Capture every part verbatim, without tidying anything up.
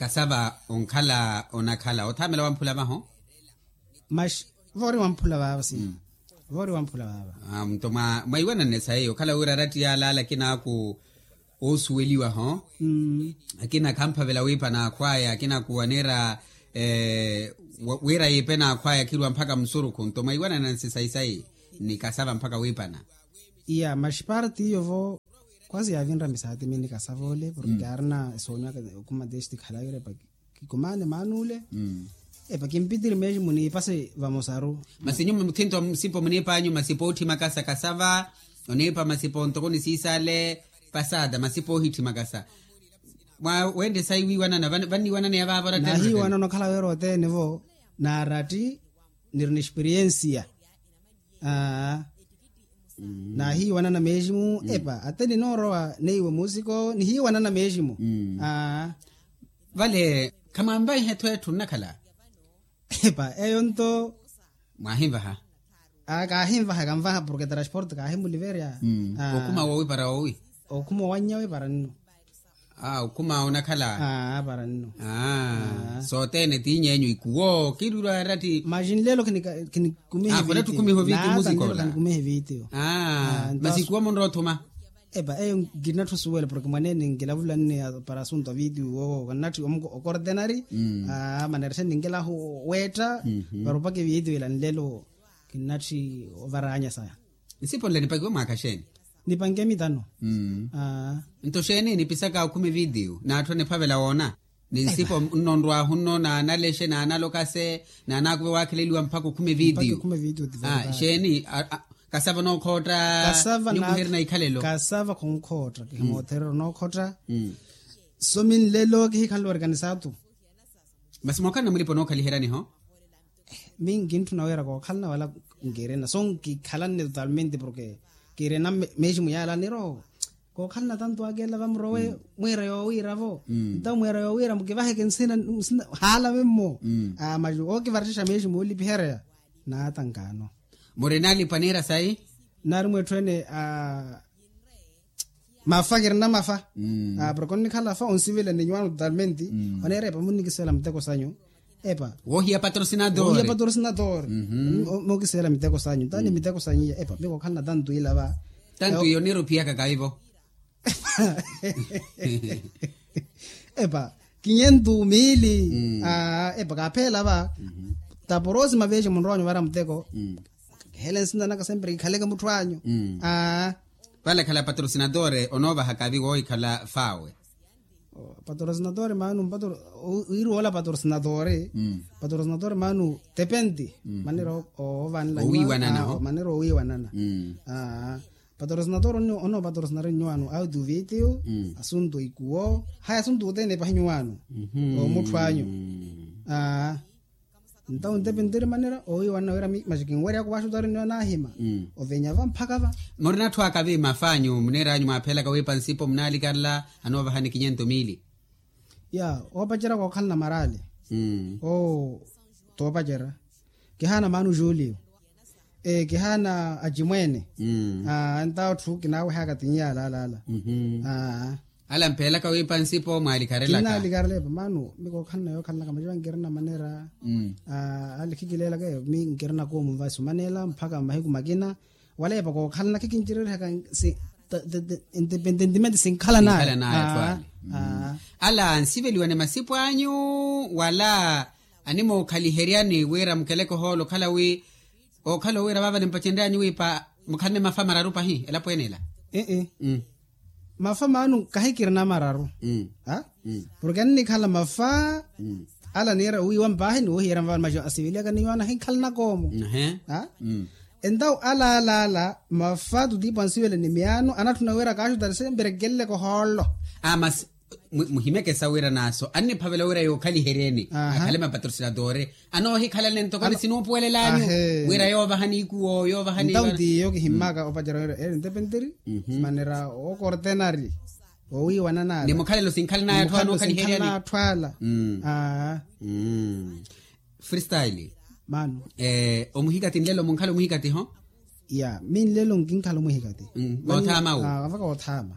Kasava onkhala onakhala othamela wamphula vaho. Mas voori wamphula vaava si. Voori wamphula vaava. Nto mwaiwananne sayi okhala wira aratti yaalaala akinaaku oosuweliwaho. Akina khamphavela wiipa n'akhwaya akina kuwanera wira yiipe n'akhwaya khiriwa mphaka musurukhu nto mwaiwanananse sayi sayi ni kasava mphaka wiipana. Iya mas parti iyo vo kwasi yaavinra misaati mini kasava ole porke kaarina esoonyo aka okhuma testi khalawira epa kikumaane maana ole. Epa kimpitiri meeximu niipase vamosaru. Masi nyuwo muthinto musipo muniipa anyu masipo ootthi makasa kasava oniipa masipo ntoko nisiisale. Pasada masipo oohitthi makasa. Mwa wende sayi wiiwanana vanniiwanana ya vaava orattena nahiiwanana okhala wira othene vo naaratti niri ni experiensiya. Aa naahiiwanana meeximu epa atte ninoorowa neiwe muusiko nihiiwanana meeximu. Aa vale khamwamvaiha etthu etthu nnakhala. Epa eyo nto mwaahinvaha. Aa kaahinvaha kanvaha porke transporte kaahimuliverya. Okhuma woowi para woowi. Okhuma owannya we para nno. Aa okhuma onakhala. Aa para nno. Aa sothene tiiny'enyu ikuwo kiirwirwa aratti. Maxi nlelo khinikumiha evitiyo. Aa masi ikuwo munrowa othuma. Epa eyo nkinatthu osuwela porke mwaneene nkilavulanne para asunto a vitiyo woowo kannatthi okortenari. Aa manerexe ninkelahu weetta para opaka evitiyo ila nlelo. Kinnatthi ovaranya saya. Nsipo nle nipakiwe mwaakha xeeni? Nipanke mitano. Nto xeeni nipisaka okhuma evitiyo n'atthu aniphavela woona ni nsipo nno nrwaahu nno naanalexe naanalokase naanaakuve waakheleliwa mpakha okhuma evitiyo. Xeeni kasava onookhootta? Nyuwo muhiiri na ikhalelo. Kasava khonkhootta kihimootherera onookhootta. So minlelo kihikhanle orikanisatu. Masi mookhalana mulipa onookhaliheryaniho. Mi nkintthuna wira kookhalana wala nkirina so nkikhalanne totalmente porke kirina meeximu yaala niro. Kookhalana tanto akeela vamurowe mwiira yoowiira-vo. Ntawo mwiira yoowiira mukivaheke nsina nsina haalave mmo. Aa maxi ookivarettexa meeximu oolipiherya naatankaano. Murina alipa niira sayi? Naarimwa etthu ene aa mafa kirina mafa. Porke onnikhala fa onsivela ni nyuwaano totalmente. Oneera epa munnikisivela miteko sanyu. Epa woohiya patrocinador. Mookisivela miteko sanyu ntaani miteko sanyu iya epa mikookhalana tantu ila va. Tantu iyo niira ophiyaka kaivo. Epa kinyentu miili. Epa kaapheela va. Taporosima veexe munrowanyu vara muteko. Kihele nsina naka sempre kikhaleke mutthu anyu. Aa vale khala patrocinadore onoovahaka avi woohikhala faawe. Patrocinadore maanu mpatro wiiri woola patrocinadore. Patrocinadore maanu tepenti manera oovanela owiiwanana. Manera owiiwanana. Patrocinadore onoopatrocinari nyuwaano audio video asuntu ikuwo haya asuntu othene epahi nyuwaano. Omutthu anyu. Ntawo ntepenteri manera owiiwanana wira mi maxi kinweryaka owaxutari nniyo naahima. Ovenya va mphaka va. Murina atthu aka vi mafa anyu muneera anyu mwaaphelaka wiipa nsipo munaalikarela anoovahani kinyento miili. Ya oopacerya kookhalana maraali. Oo toopacerya kihaana maanu julio. Kihaana acimweene. Ntawo atthu kinaawehaka tinyaala alaala. Ala mpheelaka wiipa nsipo mwaalikarelaka. Kinnalikarela epa maanu mi kookhalana yookhalanaka maciwa nkirina manera. Ali khikileelaka eyo mi nkirina koomu mvasi omaneela mpakha mahiku makina. Wala epa kookhalana khikincererihaka. Ntepententimente sinkhalanaya. Ala nsiveliwane masipo anyu wala animookhaliheryani wira mukeleke ohoolo okhala wi ookhala owiira vaava nimpacenryanyu wiipa mukhalane mafa mararu pahi elapo ene ela. Mafa maanu kahikirina mararu. Porke annikhala mafa ala niira owiiwa mpaahi ni woohiyerya mavani maci asiveliyaka ni yoona ahinkhalanaka omo. Entawo ala ala ala mafa tutiipo ansivela ni miyaano anatthuna wira kaaxutari sempre nkeleleke ohoolo. Masi muhimeke sa wira naaso anniphavela wira yookhaliheryeni akhale mapatrocinadore. Anoohikhalanle ntoko ni sinuupuwelelanyu wira yoovahani ikuwo yoovahani. Ntawo ntiyo kihimmaka opacerya wira eri ntepenteri manera ookortenari. Owiiwananaya ni mukhalelo sinkhalanaya atthu anookhaliheryani. Atthu ala. Freestyle. Maano omuhikati nlelo munkhala omuhikati ho. Ya mi nlelo nkinkhala omuhikati. Oothaama wu. Avaka oothaama.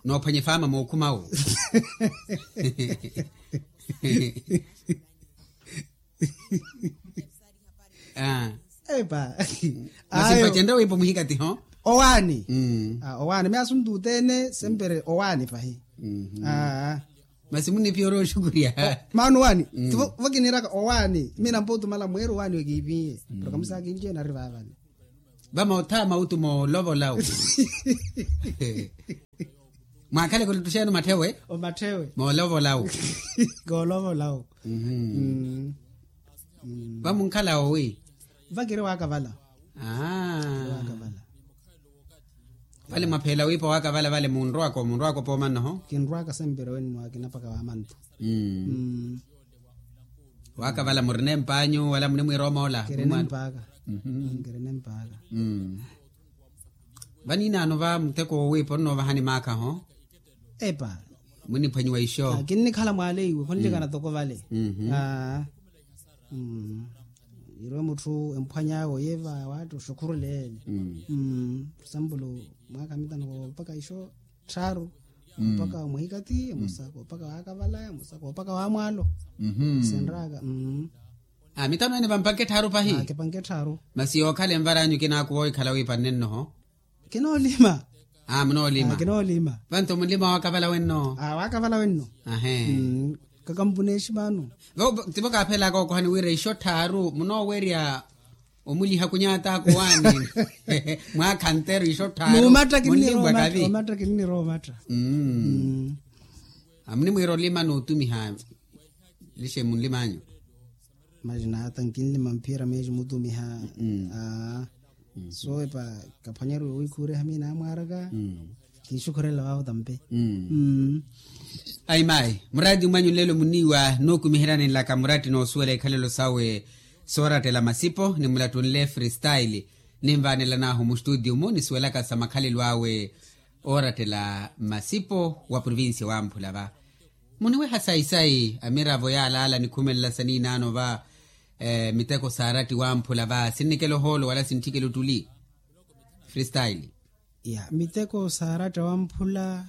Noophwanya efaama mookhuma wu. Ah. Epa. Masi ayo mpacenrya wiipa omuhikatiho. Owaani. Mm. Ah, owaani mi asuntu othene sempre owaani pahi. Mhm. Ah. Masi muniphiya ori oxukurya. Maana owaani. Mm. Vo kiniraka owaani mi nampa otumala mweeri owaani okiiphiye. Proka musakinci ena ari vaavale. Vamotha mautu moolovolau. Mwaakhale kulutuxenu matthewe. Omatthewe moolovolau. Koolovolau. Vamunkhala owi? Vakiri waakavala. Aa. Vale mwapheela wiipa waakavala vale munrwaka munrwaka opooma nnoho? Kinrwaka sempre wenno akina paka waamantu. Waakavala murina empanyu wala munimwiira omoola? Kirina empaaka. Kirina empaaka. Vaniinaano va muteko wowiipa onnoovahani maakhaho? Epa. Muniphwanyiwa ixo. Kinnikhala mwaale iwe khonlekana toko vale. Aa. Irwe mutthu emphwany'awe oye va waatta oxukhurule ele. Example mwaakha mitano koopaka ixo tthaaru. Koopaka wa muhikati emosa koopaka waakavala emosa koopaka wa mwaalo. Senraka. Mitano ene vampanke tthaaru pahi. Kipanke tthaaru. Masi yookhala envar'anyu kinaakuwa ohikhala wiipanne nnoho? Kinoolima. Munoolima. Kinoolima. Vanto munlima waakavala wenno? Waakavala wenno. Ahe. Kakampuneexi maano. Tivo kaaphelaka okohani wira ixo tthaaru munoowerya omuliha kunyata akuwaani. Mwaakha nteru ixo tthaaru. Nuumatta kinnirowa omatta. Omatta kinnirowa omatta. Amunimwiira olima nootumiha. Lixe munlimanyu. Masi naata nkinlima mphiyera meexi mutumiha. Aa. So epa kaphwanyeriwe wiikhuuriha miina amwaaraka. Kinxukhurela vavo tampe. Ayi mayi muraati mwanyu nlelo muniiwa nookumiheryani nlaka muraati noosuwela ikhalelo sawe. Soorattela masipo nimulattunle freestyle. Ninvaanelanahu mustutio-mu nisuwelaka sa makhalelo awe. Oorattela masipo wa provincia wamphula va. Muniweha sayi-sayi amiravo yaalaala nikhumelela saniinaano va. Miteko saaratti wamphula va sinnikela ohoolo wala sintthikela ottuli. Freestyle. Ya miteko saaratti wamphula.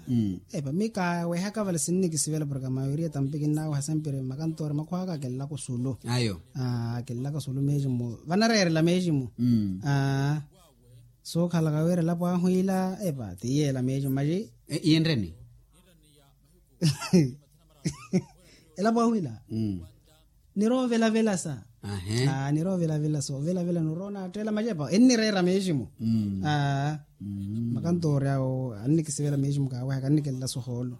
Epa mi kaawehaka vale sinnikisivela porke a mayoria tampi kinnaaweha sempre makantoori makhwaka akinlaka osulu. Ayo. Akinlaka osulu meeximu vanareerela meeximu. Sookhalaka wira elapo ahu ila epa tiyeela meeximu maxi. Iyenreni? Elapo ahu ila. Niroovelavela sa. Niroovelavela sa ovelavela niroonaatteela maxi epa ennireera meeximu. Makantoori awo annikisivela meeximu kaawehaka annikelelasa ohoolo.